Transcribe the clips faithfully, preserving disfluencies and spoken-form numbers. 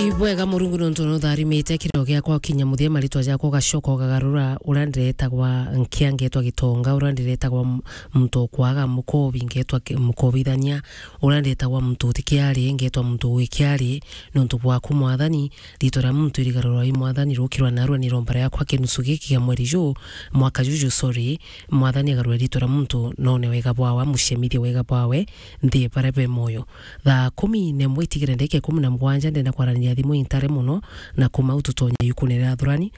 Ibwega Murungu nontu nutharimite kiriro giakwa ukinya muthia, maritwa jakwa ugacoka ugagarura, uria ndiretagwa nkia ngetwa Gitonga, uria ndiretagwa m-, muntu ukwaga mukobi ngetwa ki-, mukobithania, uria ndiretagwa muntu uti kiari ngetwa muntu wi kiari, nontu bwaku Mwathani, ritwa ria muntu irigarurwa i Mwathani, rukirwa narua ni romba riakwa kinusu giki kia mweri juu, mwaka juju, sorry, Mwathani agarure ritwa ria muntu, none wega bwawe, amucemithie wega bwawe, nthi baria be moyo. Thaa kumi na imwe itigire ndagika ikumi na mugwanja, ndenda kwaraniria thimu intare mono, na kuma u tutonye yukune ria athurani.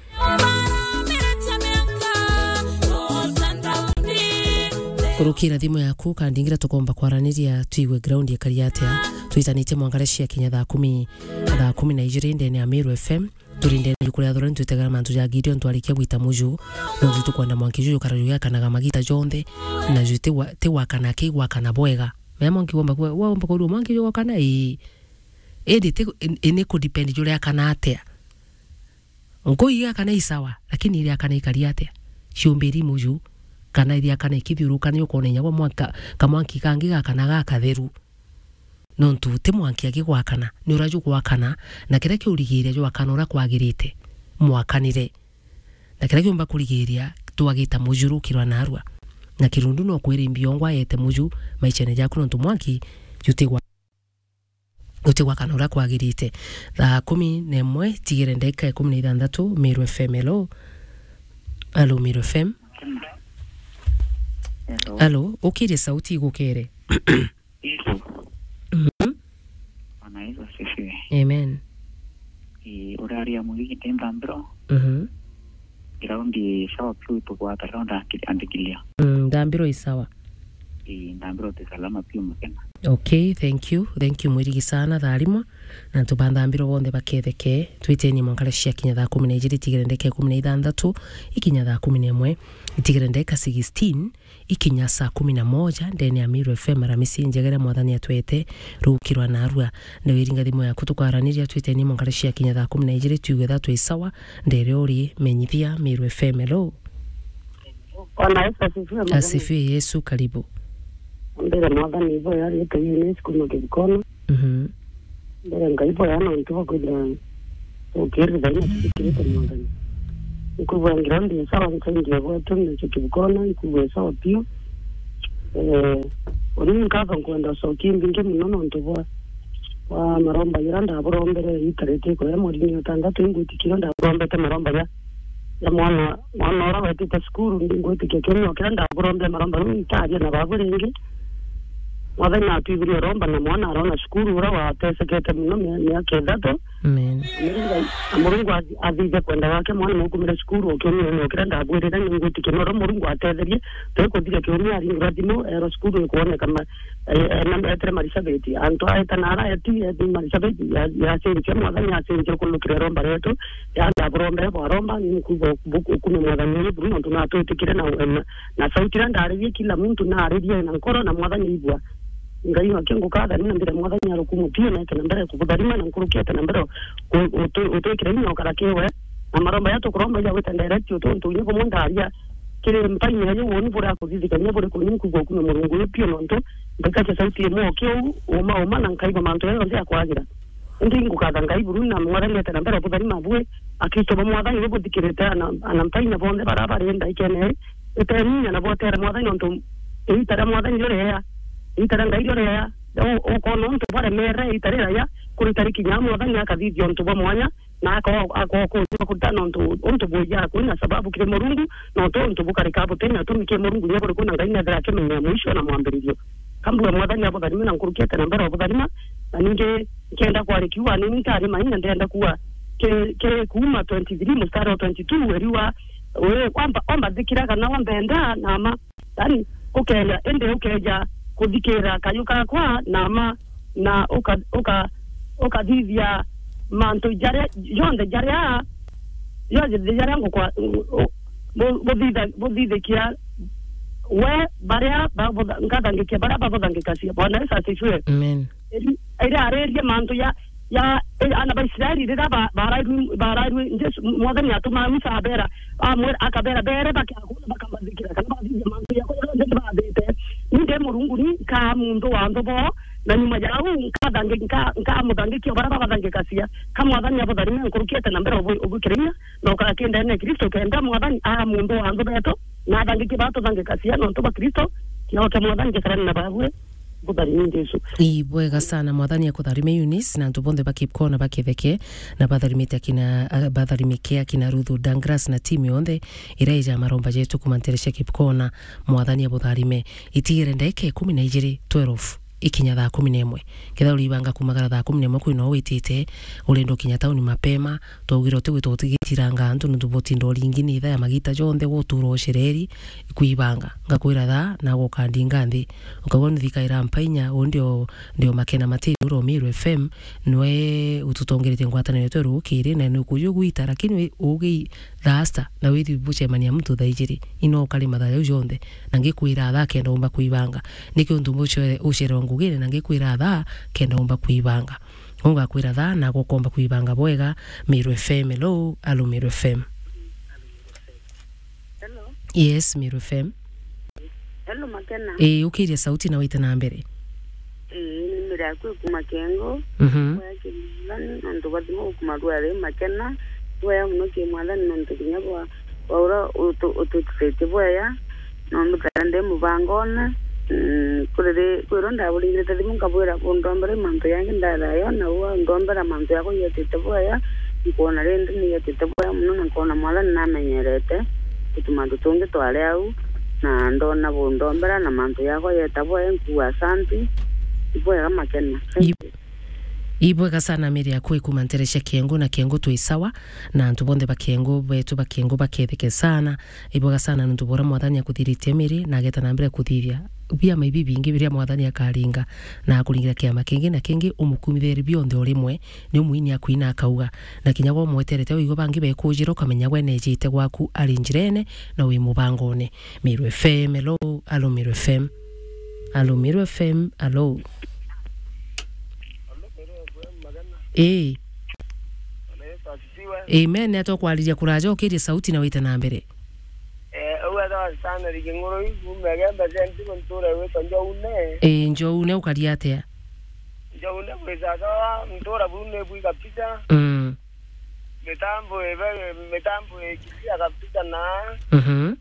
Kurukira thimu yaku, kandingira tukomba kwaraniria, twigue ground ikari atia. Twitanitie mwangare cia kinya thaa kumi, thaa kumi na ijiri ndene ya Meru F M. Turi ndene yuku ria athurani, twitegera mantu ja Gideon, twarikia gwita muju. No ju tukwenda mwanki juju kara jugiakanaga magita jonthe, na ju ti wa-, ti wakana ki gwakana bwega. Mea mwanki womba kwa, womba kwa mwanki jugokana, ii. Indi ti, in-, ini ku depend juriakana atia. Nkui igakana i sawa, lakini iriakana ikari atia? Ciumbiri muju, kana iriakana ikithiuruka ni ukona inya gwa mwanka, kamwanki kangi gakana gakatheru. Nontu ti mwanki aki gwakana, ni uria jugwakana, na kiria kiurigiria jwakana uria kwagirite, mwakanire. Na kiria kiumba kurigiria, twagita muju rukirwa narua. Na kirundu no kwiri mbiongwa yete muju maicene jaku, nontu mwanki jutigwa-, jutigwakana uria kwagirite. Thaa kumi na imwe, tigire ndagika ikumi na ithanthatu, Meru F M, hello. Hello, Meru F M. Hello. Hello, ukirie sauti igukere. Yesu. Mhm. Bwana Yesu asifiwe. Amen. Ii, uraria mwigi ni Nthambiro. Mhm. Ground i sawa piu, tugwata ground andikilia. Mm, Nthambiro i sawa. Ii, Nthambiro ti salama piu mukena. Okay, thank you. Thank you, mwirigi sana, tharimwa. Na antu ba Nthambiro bonthe baketheke. Twiteni mwankara cia kinya thaa kumi na ijiri, itigire ndeka ikumi na ithanthatu, ikinya thaa kumi na imwe, itigire ndeka sixteen, ikinya saa kumi na moja, ndene ya Meru F M, Aramisi njegere Mwathani atwete, rukirwa narua. Ndewiringa thimu yaku, tukwaraniria, twiteni mwankara cia kinya thaa kumi na ijiri, twigue thaa twi sawa, ndere uri, menyithia, Meru F M, hello. Bwana Yesu asifiwe, mwathani. Asifiwe Yesu, karibu. Mbere mwathani ibo yari ite Eunice kuma Kibukona. Mhm. Mbere Ngai boya nontu bwa kwithira tukirithaina tuthikirite mwathani. Nkwigua ngira ndi sawa, nkaingia gwetu, nje Kibukona, nkwigua sawa piu. Eh, uni nkatho nkwenda ucokia mbingi mono nontu bwa, bwa maromba jira ndaburombere itarite kuria mweri ni utandatu, ingwitikire ndaburombete maromba ja, ja mwana, mwana uria wetite cukuru, ndi ngwitikia kiumia kiria ndaburombere maromba, riu ntaaria na babu ringi. Mwathani natwithirie uromba na mwana arona cukuru uria watesekete mono mia-, miaka ithatu. Amen. Na Murungu athi-, athithe kwenda gwake, mwana nukumire cukuru o kiumia ni kiria ndabwirire, ni ngwitikia no uria Murungu atetherie, twikuthiria kiumia aringirwa thimu, erwa cukuru ikwoneka ma-, eh, eh, na etire Marisabeti. Antu aeta na ara eti, eti Marisabeti, ya, yacenjia, mwathani acenjia kunukira iromba rietu, ya ndaburombere bwaromba, ni nkuigua bu-, ukume mwathani uri buru, nontu natwitikire na, na, na sauti iria ndaririe, kila muntu naririe na nkoro, na mwathani aigua. Ngai wake ngukatha, ni na mbere mwathani arukumu pio, na ete na mbere kubutharima, na nkuruki ete na mbere ku-, utu-, utwikire inya ukara kiwe, na maromba ya tukuromba ya gwita direct utu, untu inya bumwe ndaria, kiri mpaini ya yu woni buria kuthithikania buri kuni nkuigua ukume Murungu yu pio, nontu ndikakia sauti imwe o kiu, uma, uma, na nkaigua mantu ya yonthe ya kwagira. Indi ngukatha Ngai buru na mwathani ete na mbere butharima bue, Akristo ba mwathani bu buthikirite ana, ana mpaini bonthe bara bari ndaikene, iteninya na botere mwathani nontu iita ria mwathani riu riea, iita ria Ngai riu riea, u-, ukona untu bwaremere iita riraya, kuri tariki nya mwathani akathithia untu bwa mwanya, na ako-, ako-, ako-, kuruta nontu untu bwija kwina sababu kiri Murungu, nontu untu bukarika butina utumi kiri Murungu, nya buri kwina Ngai nethira akimenya mwisho na mwambiririo. Kambua mwathani abutharime na nkurukiete na mbere obutharima, na ningi nkenda kwari kiuga ni ntari maina ndenda kuwa kiri, kiri kuuma twenty-three mustari wa twenty-two weriwa, we, wamba, wamba thikira kana wamba enda na ma, yani, ukeja, indi ukeja kuthikira kayu kakwa na ma, na uka-, uka-, ukathithia mantu jaria, jonthe jaria, jonthe jaria ngukwa-, u-, u-, bu-, buthitha-, buthithikia we, baria babutha-, ngathangikia baria babuthangikacia. Bwana Yesu asifiwe. Amen. Iri-, iria aririe mantu ya, ya, eh, ana ba Israeli riria ba-, barairwe, barairwe, Jesu, mwathani atumaa Musa abera, amwira, akabera, bere bakakuna, bakambathikira, kana bathithia mantu yakwa jonthe ndibathite. Ni ndi Murungu, ni nkaa muntu wa nthu bo, Na nyuma ya uu, nkathangi-, nka-, nkamuthangikia baria babathangikacia. Ka Mwathani abutharime nkurukiete na mbere ubu-, ubukire inya, na ukaga kindene Kristo, kenda Mwathani aa muntu wa nthu betu, na athangikie baria tuthangikacia nontu bwa Kristo, kiao kia Mwathani gikarane na baabwe. Butharime Jesu. Ibwega sana, Mwathani akutharime Eunice, na antu bonthe ba Kipkona baketheke, na batharimite akina, a, batharimike akina Ruth Douglas na timu yonthe iria ija maromba jetu kuma ntere cia Kipkona. Mwathani abutharime. Itigire ndagika ikumi na ijiri, twelve, ikinya thaa kumi na imwe. Kethira uribanga kumagara thaa kumi na imwe kwina uu witite, urenda ukinya tauni mapema, twaugire utigwita utigitiranga antu nontu butinda uringi ni itha ya magita jonthe gutura ucereri kwibanga. Ngakwira thaa, na gukandinga nthi. Ukauga nithikaira mpainya, uu ndio, ndio Makena Matiri ura Meru F M, nwe ututongeretie ngwataniro yetu rukiri, na nukuja ugwita, lakini wi-, ugi thaa sita, na withi bucemania muntu thaa ijiri, ino ukari mathaa jau jonthe, na ngikwira thaa kenda umba kwibanga. Niki untu bucio ucererwa ngugine, na ngikwira thaa kenda umba kwibanga? Ungakwira thaa, na gukomba kwibanga bwega. Meru F M, hello, alo Meru F M. Hello. Yes, Meru F M. Hello, Makena. Ii, ukiria sauti na wite na mbere. Ii, ni Miracle kuma Kengo. Mhm. Waya Kimilani, nontu bathima kuma Rware Makena. Waya muno ki Mwathani nontu kinya bwa, bwa ura utu-, ututithitie bwaya. Nontu kenda ndi mubangone, mm, kuri ri-, kwirwo ndaburingirite thimu nkabwira, undombera mantu yangi ndathayo, na uu undombera mantu yakwa yetite bwaya, nkwona rindi ni yetite bwaya muno, na nkwona Mwathani namenyerete, gutu mantu tungi twari au, na ndona bundombera, na mantu yakwa yeta bwaya, nkuuga asanti, ibwega Makena. Thank you. Ibwega sana Mary akui kuma ntere cia Kiengu na Kiengu twi sawa, na antu bonthe ba Kiengu betu ba Kiengu baketheke sana. Ibwega sana nontu bora Mwathani akuthiritie Mary na ageta na mbere kuthithia biama ibi bingi biria Mwathani akaringa na akuringira kiama kingi na kingi umukumithirie bionthe o rimwe. Ni umuini akuina akauga, na kinya gwa umweterete wigwe bangi bekujira ukamenya gwe nejite gwaku ari njirene na wi mubangone. Meru F M, hello, alo Meru F M. Alo Meru F M, alo. Ii. Bwana Yesu asifiwe. Amen. Ni atia ukwariria kuraja ukirie sauti na wite na mbere? Eh, uu etawa Stanley King'urui, kuuma Igembe Central, ntura igwitwa Njoune. Ii, Njoune, ukaria atia? Njoune kwi sawa, ntura buu ni bwi kabisa. Mm. Mitambo ibe, mitambo ikiria kabisa na Mhm.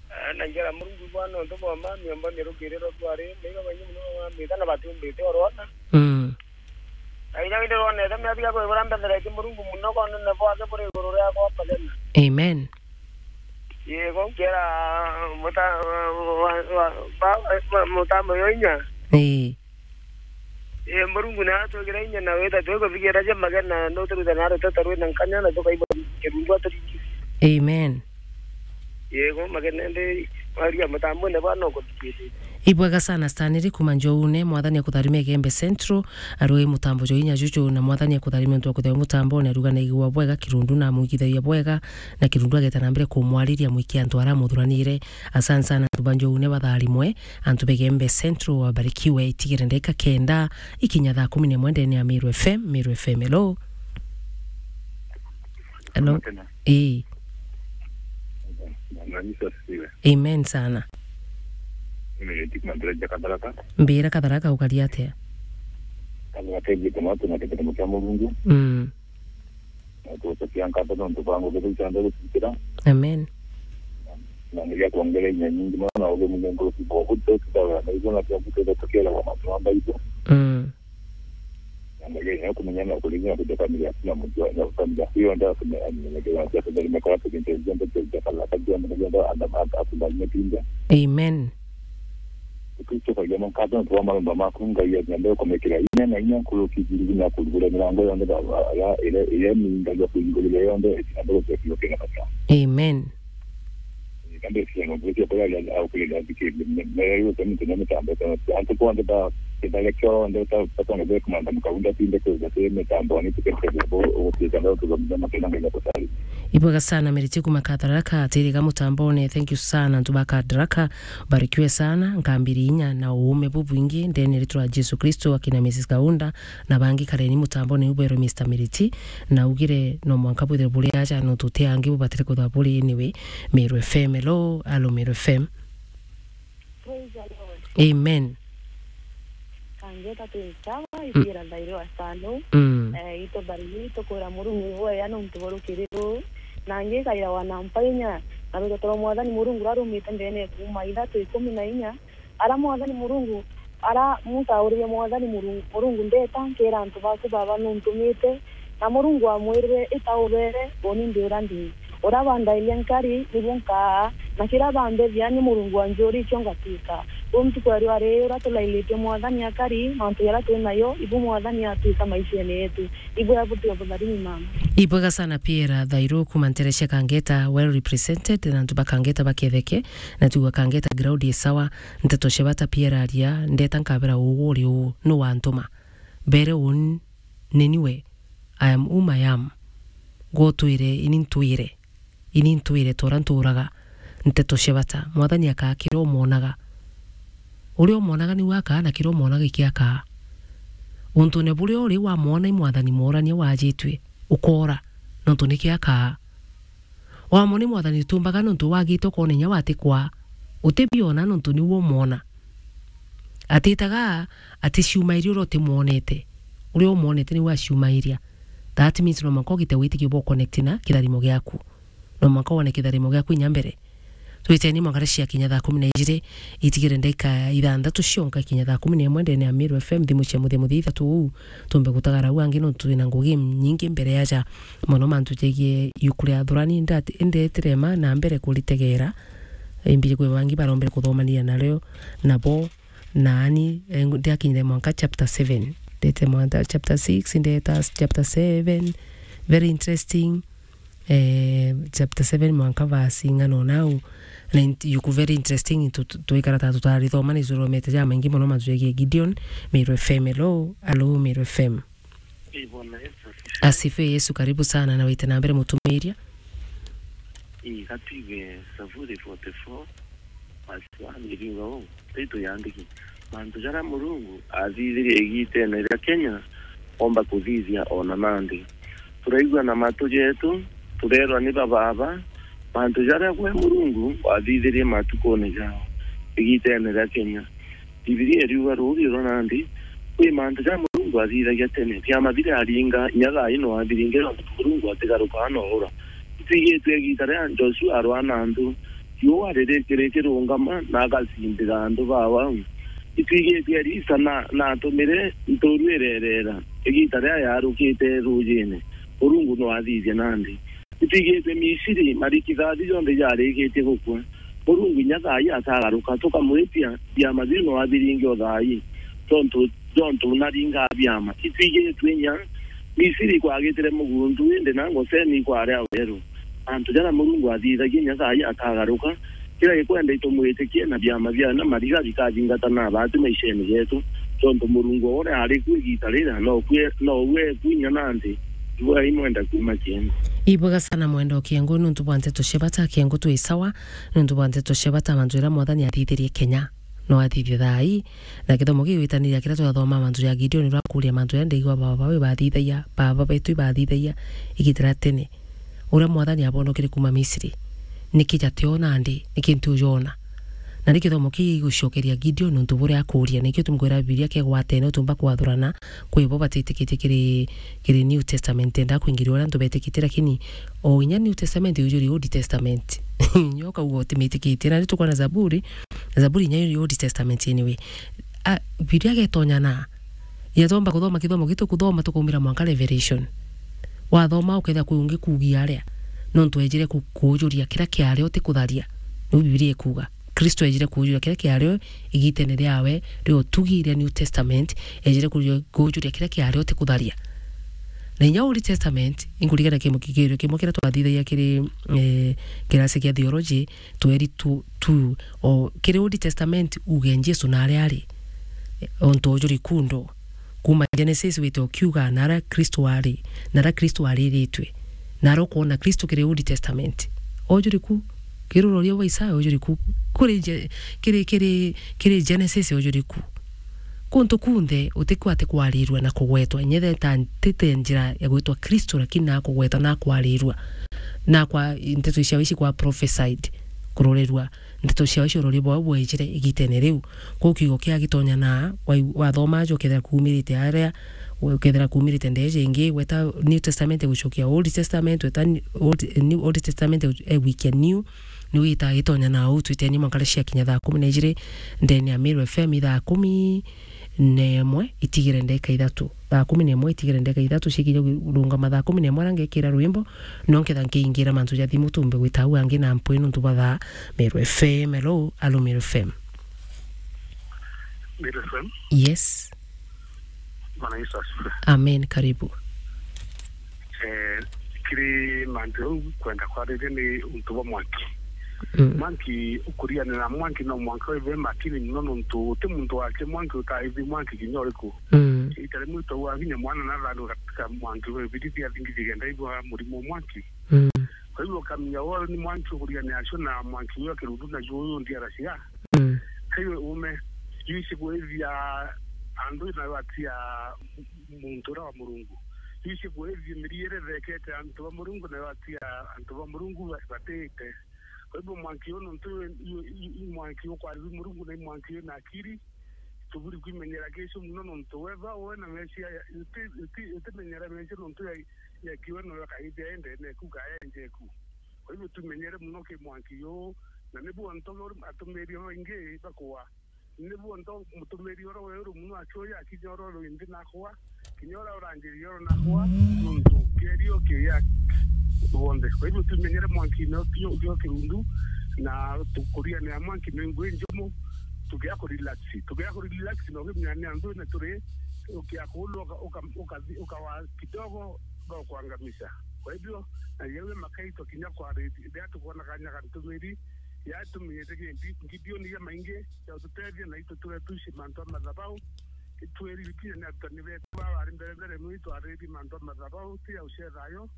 Eh, na njira Murungu bwana, untu bwa mami omba mirukiriro twari, niga bangi muno bamambita na batumbite orona. Mm. Na inya indi rwonete miathia kwibura mbethereti Murungu muno, konene bwake buri iguru riakwa Makena. Amen. Yego, nkera muta-, wa, wa, wa, wa, mutambo yo inya. Ii. Ii, Murungu ni atwikira inya na wita twikuthigira ja Makena, nuturuta na ruteta rwina nkanya na tukaigua kirundu aturingi. Amen. Yego, Makena ndi waria mutambone bwana ukuthikiriria. Ibwega sana Stanley kuma Njoune, Mwathani akutharime Igembe Central, arui mutambo jo inya juju, na Mwathani akutharime untu wa kuthia mutambone, aruga na igua bwega kirundu na amwigithagia bwega, na kirundu ageta na mbere kumwariria mwiki antu ara amuthuranire. Asante sana antu ba Njoune batharimwe. Antu ba Igembe Central wabarikiwe, itigire ndagika kenda ikinya thaa kumi na imwe ndene ya Meru F M. Meru F M, hello. Hello. Makena. Ii. Bwana Yesu asifiwe. Amen sana. Mimi ni Dick Mandela ja Katharaka. Mbira Katharaka ukaria atia? Katharaka ijite matu na kitendo kia Murungu. Mm. Na tucokia nkatho nontu bwa ngugi iu cionthe gucikira. Amen. Na nginya kwongera inya nyingi mono na ugi mwingi nkuruki bwa buto tutawira na igua na cia buto tukielewa mantu ma Bible. Mm. Na nginya kumenya na kuringa kuja familia na mtu na familia hiyo ndio tumeamini na kila kitu ndio nimekuwa tukinjia ndio ndio kala kajua ndio ndio anda anda anda. Amen. Kristo kagia mukate nontu bwa maromba maku, Ngai anyende kumikira inya na inya nkuruki thirigina kurugura mirango yonthe ba, ba, ya, iria, iria mingagia kuhingurira yonthe, itina ndogo cia kiugo kina bata. Amen. Kambe cia no gwetia kwa ya au kule da dike, me, me, yo tani tena mitambo tena. Antu kwa nda kitale kyo nda ta ta kwa nda kumanda mkaunda tinde kwa za mitambo ni tukete bo o kwa nda kwa mjama kina ngai kutari. Ibwega sana Meriti kuma Katharaka, atiriga mutambone. Thank you sana, antu ba Katharaka. Barikiwe sana, nkambiri inya na uume bubwingi ndene ritwa Jesu Kristo, akina Missus Kaunda na bangi kareni mutambone uberwe Mister Miriti, na ugire no mwanka bwithire buri aja no tuti angi bubatire kutha buri anyway. Meru F M, hello, alo Meru F M. Praise the Lord. Amen. Ngeta twi nsawa, ithiira thairi wa sano. Mm. Eh, itutharimia, itukwira Murungu ibwea nontu bwa rukiri ruu. Na ngikaira wana mpainya, na rutete rwa Mwathani Murungu ruria rumite ndeene kuuma ithatu ikumi na inya, ara Mwathani Murungu, ara Musa auririe Mwathani Murungu, Murungu, ndeta, nkira antu baku baba nuntumite, na Murungu amwirire, ita ubere, uni ndi uria ndi. Uria bandairia nkari, nibu nkaa, na kiria bambethia ni Murungu anjuritie ngatwika. Uu ntuku ya riua riri uria tulairitie Mwathani akari, mantu jaria twi nayo, ibu Mwathani atwika maishene yetu. Ibwea buti ubutharimi mama. Ibwega sana Pierre Thairu kuma ntere cia Kangeta, well represented, na antu ba Kangeta baketheke, na tuga Kangeta ground i sawa, nteto cia bata Pierre aria, ndeta nkabera uu uri uu, nu wantuma. Mbere uu n-, ni niwe, I am whom I am. Gwe utwire, ini ntwire. Ini ntwire ta uria nturaga. Nteto cia bata. Mwathani akaa kiria umwonaga. Uria umwonaga niu akaa, na kiria umwonaga ikio akaa. Untune buria uri wamwona i Mwathani mworania wajitue, ukoora, nontu nikio akaa. Wamwona i Mwathani utumbaga nontu wagite ukoona inya watikwaa. Utibiona nontu niu umwona. Atitaga aticiumairia uria utimwonete. Uria umwonete niu aciumairia. That means no mwanka ugite witikio bwa connect na kitharimo giaku. No mwanka wone kitharimo giaku inya mbere. Twiteni mwanka cia kinya thaa kumi na ijiri, itigire ndagika ithanthatu cionka kinya thaa kumi na imwe ndene ya Meru F M, thimu cia muthia muthia ithatu uu, tumbe gutagara uu angi nontu twina ngugi nyingi mbere yaja. Mono mantu jegie yuku ria athurani, ndati-, indetire ma na mbere kuritegera. Imbiri kwi bangi barombere kuthomania nario, nabo, naani, eh, ndiakinyire mwanka chapter seven. Ndete mwanka chapter six, ndeta chapter seven. Very interesting. Eh, chapter seven mwanka verse ing'ana o nau. Na int-, yuku very interesting, tu-, tu-, twikara ta tutarithoma, ni turomete jamaingi mono mantu jegie Gideon, Meru F M. Hello, hello, Meru F M. Ii, Bwana Yesu asifiwe. Asifiwe Yesu, karibu sana, na wite na mbere mutumiria. Ii, gatwige Zaburi forty-four, verse one iriuga uu, taitu yandiki, mantu jaria Murungu athithirie igitene ria Kenya, omba kuthithia ona nandi. Turaigua na matu jetu, turerwa ni bababa, mantu jaria gwe Murungu wathithirie matukune jao, igitene ria Kenya. Bibilia iriuga ruuji rwa nandi, kwi mantu ja Murungu athithagia tene, biama biria aringa, inya thaa ino abiringe, nontu Murungu atigarukaa na uura. Itwigitue igiita ria Joshua arwaa na antu, riua riri-, rikirungama na agacindira antu bau. Itwigitue Elisa na, na atumire ntuuru irereera, igiita riria yarukite ruujine, Murungu no athithia nandi. Itwigitue Misiri, marikithathi jonthe jarikitie gukua. Murungu inya thaa ii atagaruka, tukamwitia, biama biu no abiringe o thaa ii, tontu, tontu naringaa biama. Itwigitue inya Misiri ikwagitire mugundu, indi na Goseni ikwaria weru. Antu jaria Murungu athithagia inya thaa ii atagaruka, kiria gikwenda itumwitikie na biama bia na mariga bikathingata na abati maishene jetu, tontu Murungu uria ari ku igiita riria, no kue, no we ku inya nandi. Ibwega imwenda kuuma Kiengo. Ibwega sana mwenda o Kiengo, nuntu bwa nteto cia bata Kiengo twi sawa, nuntu bwa nteto cia bata mantu jaria Mwathani athithirie Kenya. No athithie thaa ii, na kithomo gigwitaniria kiria twathoma mantu ja Gideon, urakuria mantu jaria ndaigua baba bawe bathithagia, baba betu ibathithagia, igiita ria tene. Uria Mwathani abonokire kuuma Misiri, niki jationa ndi, niki ntiujona? Na ni kithomo kigucokeria Gideon untu buria akuria, nikio tumkwira Bibilia kegwatene utumba kwathurana, kwi bo batitikitie kiri, kiri New Testament, enda kwingiria uria antu betikitie, lakini o inya New Testament ujuri Old Testament. Nyo kauga utimitikitie, na ni tukwona Zaburi, Zaburi inya iri Old Testament anyway. A, Bibilia getonyana, yatomba kuthoma kithomo gitu kuthoma tukaumira mwanka Revelation. Wathoma ukethira kwi ungi kuugia aria, nontu ejire ku-, kuujuria kiria kiari utikutharia. Niu Bibilia ikuuga. Kristo ejire kuujuria kiria kiari igitene riawe ria utugi ria New Testament, ejire kuujuria, kuujuria kiria kiari utikutharia. Na inya Old Testament, inkuririkana kimu-, kigerio kimwe kiria twathithagia kiri, eh, kirasi kia theology, tweri tu, tu, o, kiri Old Testament, uge Jesu na aria ari, o ntu ujuri kundo. Kuuma Genesis wite ukiuga, na aria Kristo ari, na aria Kristo ariritwe, na aria ukwona Kristo kiri Old Testament. Ujuri ku, kiri uroria bwa Isaya, ujuri ku, kuri Je-, kiri, kiri, kiri Genesis, ujuri ku. Kuntu kunthe utikwate kwarirua na kugwetwa, inya theta ntite njira ya gwitwa Kristo, lakini na kugwetwa na kwarirua. Na kwa nteto cia ici kwa prophesied. kurorerua nteto ciao cia urori bwao bwejire igitene riu. Kwou kiugo kia gitonya na wa-, wathoma aja ukethira kuumirite aria, ukethira kuumirite ndeje ingi, weta New Testament gucokia Old Testament, weta ni-, Old, New, Old Testament gu-, eh, gwikia New, ni wita gitonya na uu twiteni mwanka cia kinya thaa kumi na ijiri ndene ya Meru F M, thaa kumi na imwe itigire ndeka ithatu. Thaa kumi na imwe itigire ndeka ithatu, cikinya kurungama thaa kumi na imwe aria ngekira rwimbo, no nketha nkiingira mantu ja thimu tumbe gwita au angi na mpwi nuntu bwa thaa. Meru F M, hello, alo Meru F M. Meru F M. Yes. Bwana Yesu asifiwe. Amen, karibu. Eh, kiri mantu jau kwenda kwariria ni untu bwa mwanki. Mm. Mwanki, ukurianira mwanki no mwanka wibe makini muno nontu uti muntu wake mwanki utaithi mwanki kinya uriku. Mm. Ita rimwe itauga kinya mwana nathanduka katika mwanki we birithi athingi kigenda igwa murimo mwanki. Mm. Kwa hivyo ukamenya wao ni mwanki ukurianira acio na mwanki uyo kirundu na juo uyu ndiara cia. Mm. Kaiwe ume, yuici kwithia andu na watia muntu uria wa Murungu. Yuici kwithia miriere thekete antu ba Murungu na watia antu ba Murungu ba-, batite. Kwa hivyo mwanki uyu nontu i, i, i, i mwanki ukwariri Murungu na i mwanki wina akiri, tuburi kwimenyera kicio muno nontu wethwa we na mecia ya, uti, uti, utimenyera mecia nontu ya, ya kiwe no yakaithia endene ku kaenje ku. Kwa hivyo tumenyere muno ki mwanki uyu, na nibu antu atumiri baingi bakua. Nibu antu mutumiri uria weru muno akioya akinya uria uri nthi nakua, kinya uria uranjiri uria nakua, nontu kerio kiya bonthe. Kwa hivyo tumenyere mwanki no kio, kio kirundu, na tukurianira mwanki mengu injumu, tugia ku relax. Tugia ku relax na ukimenya ni andu na turi, ukia kulu uka, uka, uka, ukawa kidogo, bakuangamisha. Kwa hivyo, na yewe makaitwa kinya kwa redi, ndia tukuona kanya kantumiri, ya tumenyete ki Gideon ya maingi, ya ututethia na itu tuge tuici mantu a mathabau, itweri bikinya ni arutani betu ba bari mbere mbere mwi twariri mantu a mathabau, ti ya ucetha yo,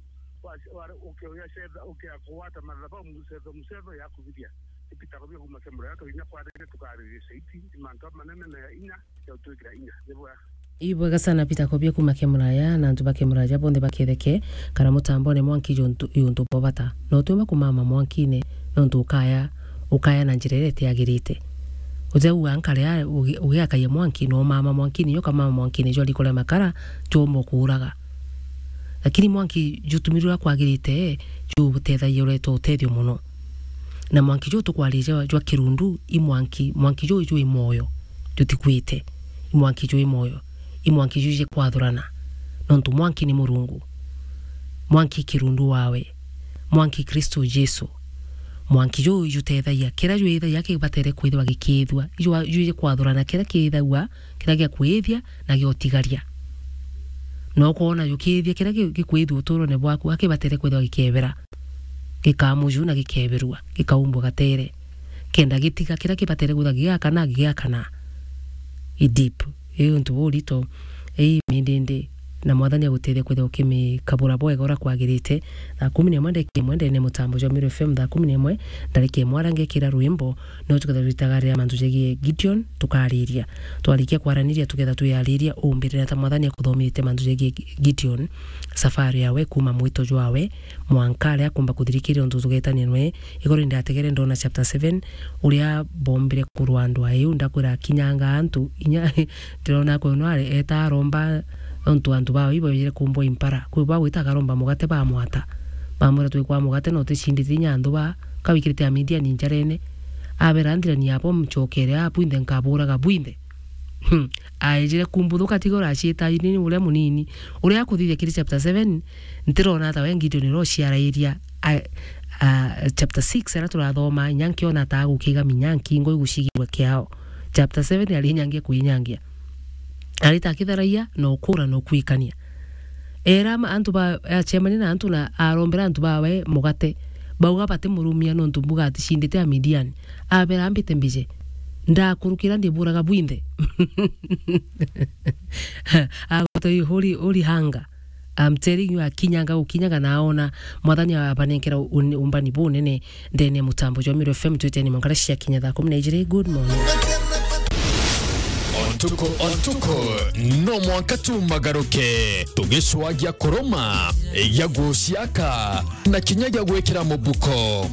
wa, wa, uke uya cetha, uke ya kuwata mathabau, mucetho, mucetho ya kubiria. Ipitako bia kuma kemura, ya tukinya kwarire tukaririe saiti, mantu a manene na ya inya, ya utwikira inya. Ni bwega. Ibwega sana Peter Kobia kuma Kemuraya, na antu ba Kemuraya bonthe baketheke kana mutambone mwanki juntu, yuntu bwa bata. No utiumba kumama mwankine, nontu ukaya, ukaya na njira iria itiagirite. Uteuga nkare a, ugi-, ugiakaia mwanki, no umama mwankine, nyo kamama mwankine jwa riko ria makara, jomba kuuraga. Lakini mwanki jutumirwe uria kwagirite, jutethagia ureta utethio muno. Na mwanki juu tukwariria jwa, jwa kirundu, i mwanki, mwanki juu jwi mwoyo, jutikwite. I mwanki jwi mwoyo, i mwanki juu jikwathurana. Nontu mwanki ni Murungu. Mwanki kirundu wawe. Mwanki Kristo Jesu. Mwanki juu jutethagia, kiria jwithagia kibatere kwithirwa gikiithua. Juu, juu jikwathurana kiria kiithagua, kiria gia kwithia na gia utigaria. Na ukoona jukiithia kiria gi-, gikwithua uturone bwaku, akibatere kwithirwa gikebera. Gikamuju na gikeberua, gikaumbwa gatere. Kenda gitiga kiria kibatere kwithirwa gigakana, gigakana. I deep. Ii untu burito. Ii mindindi. Na Mwathani agutethia kwithirwa ukimikabura bwega uria kwagirite. Thaa kumi na imwe ndagika imwe ndene mutambo jwa Meru F M, thaa kumi na imwe ndarika imwe aria ngekira rwimbo, no tukethirwa twitagarira mantu jegie Gideon, tukariria. Twarikia kwaraniria, tukethirwa twiyariria umbirira ta Mwathani akuthomithite mantu jegie Gideon, safari yawe, kuma mwito jwawe, mwanka aria akumba kuthirikiria untu tugetania nwe. Igoro indategere ndona chapter seven, uria bombire kurwa andu aiu, ndakwira akinyanga antu, inya ndirona akwe no ari eta aromba, nontu antu bao ibo bejire kumbwa impara. Kwi bwa gwita akaromba mugate bamwata. Bamwira, "Twikwa mugate na uticindite inya antu ba, kawikirite Amidiani njarene." Abera, "Ndirani abo mcokere aa bwinthe, nkaburaga bwinthe." Hmm. Aejire kumbuthuka tiga uraciita ini uria munini. Uria akuthithia kiri chapter seven, ntirona ta we Gideon uria uciarairia, a, a, chapter six aria turathoma, inya nkiona ta agukiga minya nkingo igucigirwa kiao. Chapter seven ari nyangia kwinyangia. Arita akitharagia na ukura na ukuikania. Era ma-, antu ba, acemania na antu na arombera antu bawe mugate. Bauga batimurumia nontu mbuga aticindite Amidiani. Abera, "Mbite mbije. Ndakurukira ndiburaga bwinthe." Agwata uri, uri hanga. I'm telling you, akinyanga gukinyaga na aona Mwathani abanenkera un-, umbani bunene. Ndene mutambo jwa Meru F M twiteni mwanka cia kinya thaa kumi na ijiri. Good morning. Ontuku, ontuku, no mwanka tumagaruke, tugicwagia kuruma, ya guciaka, na kinya gia gwikira mubuko.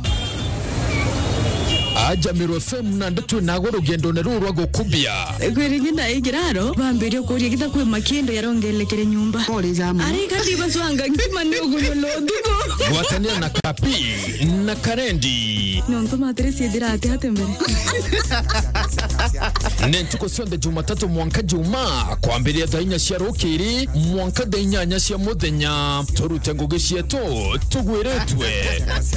Aja Meru F M na ndeto nago rugendone ruru rwa gukubia. Kwiri ngi ndaikiraro bambirie kuria gita kwi makindo yarongelekere nyumba. Pole za muno. Ari kandi bacwanga nkima ni ugunyula utuku. Gwatanira na Kapi na Karendi. Nontu matire ciithira ati ati mbere. Ni ntuku cionthe Jumatatu mwanka Juma, kwambiria thaa inya cia rukiri mwanka thaa inyanya cia muthenya. Turute ngugi cietu tugwiritwe.